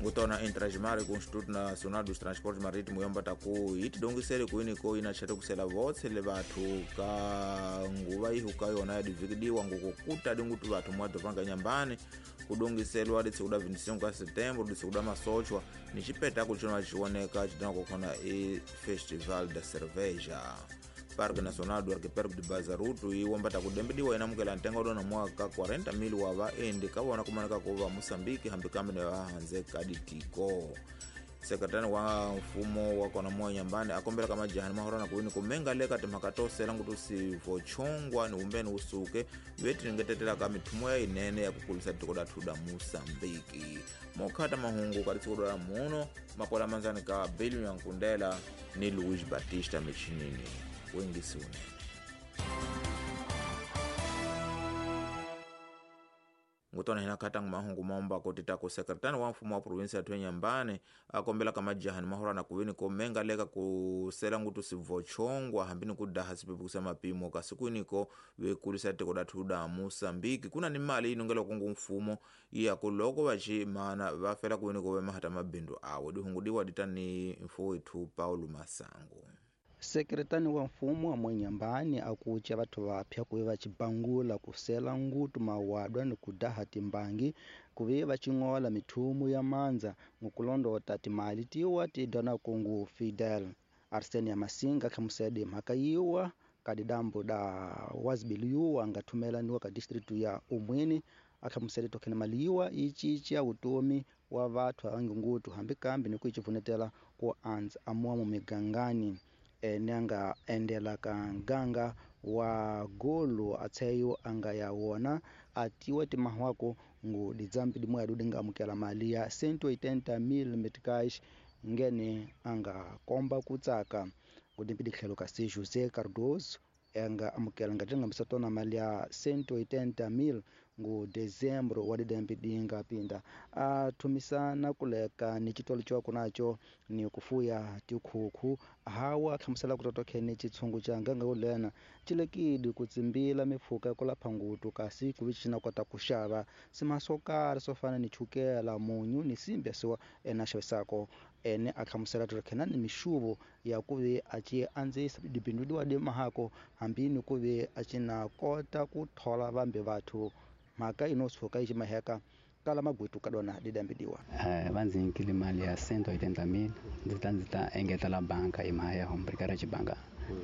Ngutona Intrajimari ku Instituto Nacional dos Transportes Marítimos yombata ku yi tidongisele kuyini ko yina tshete kusela votse le vathu ka nguva ihu ka yona ya divikidiwa ngukukuta dingutu vathu mwadopanga nyambani kudongiselwa ditsikuda 25 ka setembro ditsikuda masochwa ni chipetakulu chino chioneka chidana kukhona e Festival da Cerveja. Parque Nacional do Arquipélago de Bazaruto iwombata kudembediwa inamukela ntengo dona mwaka 40,000 wa vaendi kavona kumaneka kuva Moçambique hambi kambe ne vahanze kaditiko. Sekretari wa mfumo wa kona moya nyambani akombela ka majahani mahorona kuwini kumenga leka timhaka to sela ngutu sivochongwa ni umbeni usuke vetiningetetela ka mithumo ya inene ya kukulisa tiko dathu da Moçambique. Mokhata mahungu ka tsiku la muno makola manzani ka Bill Nyankundela ni Luis Batista Michinini wengisi unene. Ngutona hina katang mahungu maomba kotita ku sekretari wa mfumo wa provinsi ya Twenyambane akombela ka majahani mahorana kuwini komenga leka kusela ngutu sivochongwa hambini kudaha sipepukusa mapimo kasikwiniko vekulisa tiko dathu da Moçambique. Kuna ni mali inongela kungu mfumo iya kuloko vachi mana vafela kuwini ko vemahata mabindu awe dihungudiwa ditani mfo wetu Paulo Masango. Sekretani wa mfumo wa mwenyambani akucha vathu vapya kuve vachibangula kusela ngutu mawadwa ni kudaha timbangi kuve vaching'ola mithumu ya mandza ngukulondota timali tiwa tidona kungu Fidel. Arsenia Masinga khamusede mhaka yiwa kadidambu da wazibiliyuwa angathumelaniwa ka district ya Umwini akhamusede tokhene mali yiwa ichichi ya utomi wa vathu avangi ngutu hambi kambi ni kuichivunetela ku andza amuwa mumigangani. Ene anga endela ka nganga wa golo atseyo anga ya wona atiwa timahwako ngu didzambi dimwe adudi nga amukela mali ya 180,000 meticais ngene anga komba kutsaka ngudimbi ditlhelo ka se José Cardoso anga amukela nga tinga misatona mali ya 180,000 ngu dezembro wa didembi dinga pinda athumisana kuleka ni chitolo chwako nacho ni kufuya tikhukhu hawa khamusela kutotokhene chitshungu cha nganga ulena chilekidi kutsimbila mipfuka kulapha ngutu kasi kuvichina kota kuxava simasokari sofana ni chukela munyu ni simbe siwa ena xavisako ene akhamusela totokhena ni mixuvo ya kuve aci andzisa dibindu wa dimahako hambini kuve acina kota ku thola vambe vathu mhaka inosuka yi ximaheka kala magwitu kadona didambidiwa. Va ndzi nyikile mali ya 180,000 ndzi ta engetela banka hi mhaka ya hombrikara xibanga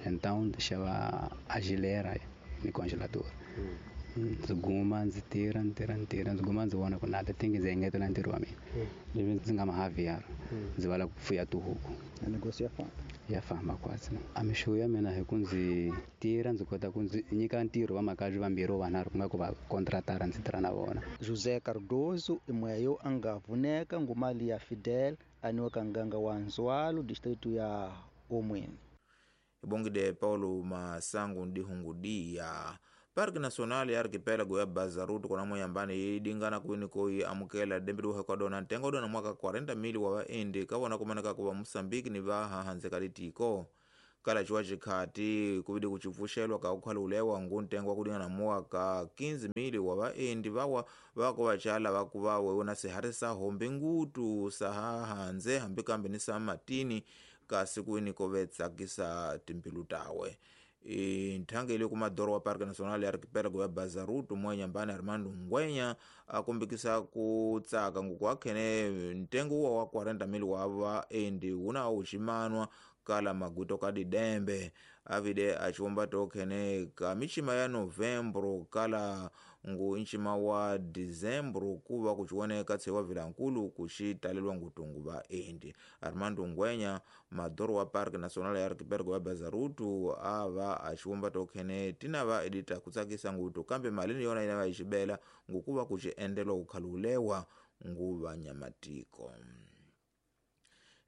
então ndzi xava a gilera ni congelador. Ndzi guma ndzi tirha ndzi guma ndzi vona ku na ti thingi ndzi engetela ntirho wa mina leswi ndzi nga mahaviara ndzi vala ku fuya tihuku negócio ya famba ya famba kwatsi a mixuvo ya mina hi ku ndzi tirha ndzi kota ku ndzi nyika ntirho va makazi vambirhi vanharhu ku nga ku va kontratara ndzi tirha na vona. José Cardoso imweyo a nga vuneka ngumali ya Fidel aniwa ka nganga wa Nzwalo district ya Omweni. Ibongide Paulo Masango ndihungudia. Parque Nacional ya Arquipélago ya Bazaruto kona moyambani idingana kuwini koi amukela dembidu hekwadona ntengo dona mwaka 40,000 wa vaendi kavona kumaneka kuva Moçambique ni vahahanze kalitiko kala chiwa chikhati kuvidi kuchipfuxelwa ka ukhalulewa ngu ntengo wa kudingana mwaka 15,000 wa vaendi vawa vako vachala vakuva wewona sihari sa hombe ngutu sahahanze hambi kambe ni sa matini kasi kuwini kovetsakisa timbilu tawe. Nthangeli kumadoro wa Parque Nacional ya Arquipélago ya Bazaruto mwenyambani Armando Ngwenya akumbikisa kutsaka nguku akhene ntengo uwa wa 40,000 wa vaendi wuna uchimanwa kala maguto kadidembe avide achiwomba tokhene ka michima ya novembro kala ngu nchima wa dezembro kuva kuchioneka tsewa vilankulu kuxitalelwa ngutungu vaendi. Armando Ngwenya madoro wa Parque Nacional ya Arquipélago ya Bazaruto ava achiwomba tokhene tina va edita kutsakisa ngutu kambe malini yona ina vaixibela ngukuva kuxiendelwa kukhalulewa nguva nyamatiko.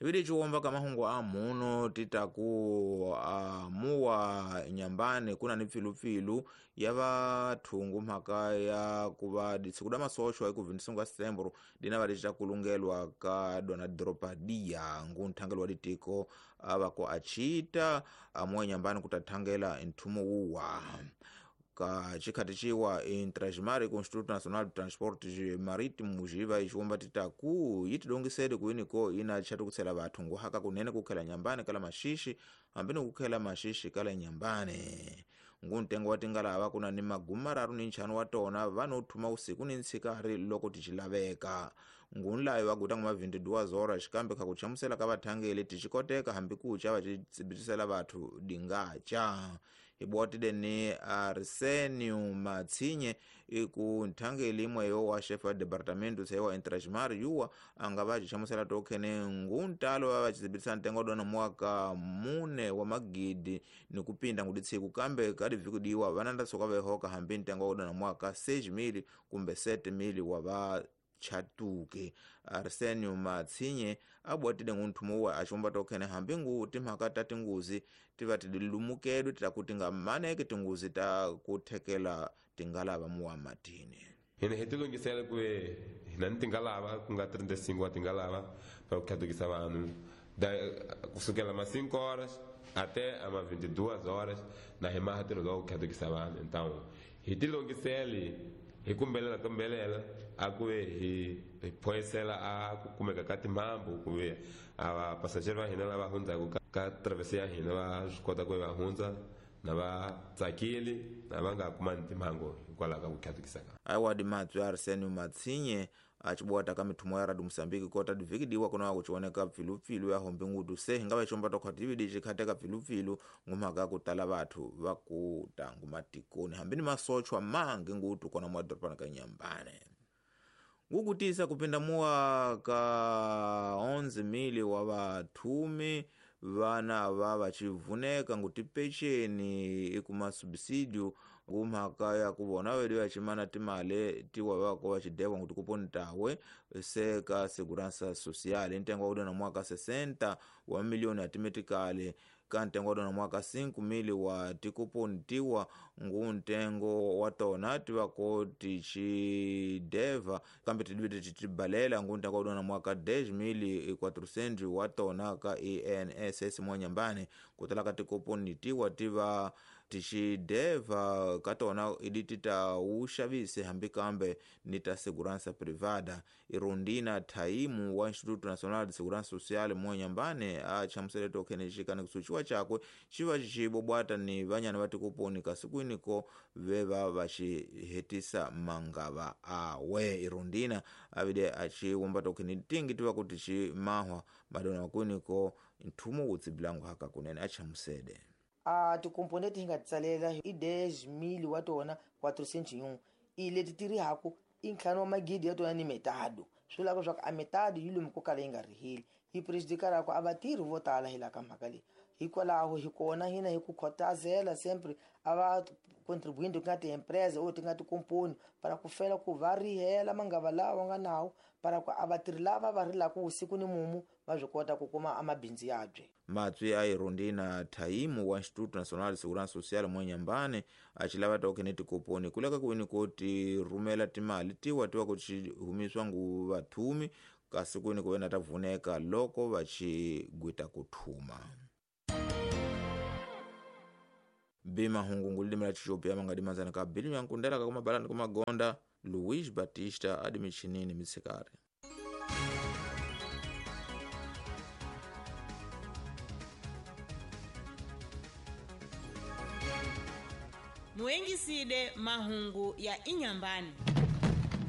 Ibidi chiwomba kamahungu a muno titaku amuwa nyambani kuna ni pfilupilu ya vathungu mhaka ya kuva ditsikuda masochwa eku 25 setembro dina va kulungelwa ka dona dropadia ngu nthangelo wa ditiko avako achita amuwa nyambani kutathangela nthumo wuwa. Ka chikhati ciwa Intrasmar ku Instituto Nacional de Transportes Marítimos iva iciwomba titaku yitidongisede kuiniko ina tchatukusela vathu nguhaka kunene kukhela nyambane kala maxixi hambi ni kukhela maxixi kala nyambane. Nguntengo wa tingalava kuna ni magumi mararu ni ntlhanu wa tona vanothuma usiku ni ntshikari loko ticilaveka. Ngunlayo va guta nguma 22 horas kambe kha kuchamusela ka vathangeli ticikoteka hambi kucha vacitsibitisela vathu dingaca. Ibwatide ni Arsenio Matsinye iku nthangeli imweyo wa chefe wa departamento sewa Intrasmar yuwa anga vacichamusela tokhene nguntalo va vacitsibitisa ntengo dona mwaka 4 wa magidi ni kupinda nguditsiku kambe kadivikudiwa vananda soka vehoka hambi ntengo dona mwaka 6,000 kumbe 7,000 wa va chatuke. Arsenio Matsinye abwatide ngunthumo wa axomba tokhene hambi ngu timhaka ta tinguzi tiva tidilumukedwe titakuti nga maneke tinguzi ta kuthekela tingalava muwa matini. Hina hi tilungisela ku hina ni tingalava ku nga 35 wa tingalava pa ku khatukisa vanhu kusukela ma 5 horas até ama 22 horas na hi maha tirho lowu ku khatukisa vanhu. Então hi tilungisele hi kumbelela a ku ve hi phoyisela a ku kumeka ka timhambu ku ve a vapasajeri va hina lava hundzaka ka travesi ya hina va swi kota ku va hundza na va tsakile na va nga kumani timhangu hikwalaho ka ku khatukisa ka. Aiwadi matswi Arsenio Matsinye acibwata ka mithumo ya Radio Mosambiki kota divikidiwa kuna kuchioneka pfilupfilu ya hombe ngutu se hinga vachomba tokhwatividi cikhateka pfilupfilu ngumhaka kutala vathu va kutangu matikoni hambi ni masochwa mangi ngutu kona mwadorobani ka Nyambane. Ngukutisa kupinda muwa ka 11,000 wa vathumi vana va vachivuneka ngutipeceni ikuma subsidio ngumhaka ya kuvona vedu vachimana timale tiwa vako vachidekwa nguti kuponi tawe se ka segurança social ntengo wa kudona mwaka 60 wa milioni atimetikale ka ntengo wa dona mwaka 5,000 wa tikuponi tiwa ngu ntengo wa tona tivako tichideva kambe tidivide titibalela ngu ntengo wa dona mwaka 10,400 wa tona ka INSS mwanyambane kutala ka tikuponi tiwa tiva tichideva katona idi titauxavise hambi kambe ni ta segurança privada. Irondina Thaimu wa Instituto Nacional de Segurança Social mwanyambane achamusele tokhene xikani kusuciwa chakwe xiva xixibobwata ni vanyana va tikuponi kasikwiniko veva vaxihetisa mangava awe. Irondina avide axiwomba tokhene tingi tiva kuti ximahwa madona wakwiniko nthumo wutsibilangu haka kunene achamusede. A tikomponente hi nga tsalela i 10,000 wa tona 401 i leti ti rihaku i ntlhanu wa magidi ya tona ni metado swi vulaka leswaku a metado yi lomu ko kala yi nga riheli yi prejudicaraka a vatirhi vo tala hi laha ka mhaka leyi. Hikwalaho hi kona hina hi ku khotazela sempre a va contribuinte ku nga ti-empresa or ti nga tikomponi para ku fela ku va rihela mangava lawa nga nawo para ku a vatirhi lava va rilaka usiku ni mumu va swi kota ku kuma amabindzu yabye. Matswi a Irondina Thaimu wa Instituto Nacional de Segurança Social mwanyambane achilava tokhene tikoponi kuleka kuini ko tirhumela timali tiwa tiwa ku humiswa ngu vathumi kasi kwini ku vena ta vuneka loko va xigwita ku thuma. Bima hungu lilimi la Ethiopia mangadimanzana ka bilimu ya nkundela ka kumabalani kumagonda Luis Batista adi michinini mitsikari. Muengiside mahungu ya Inyambani.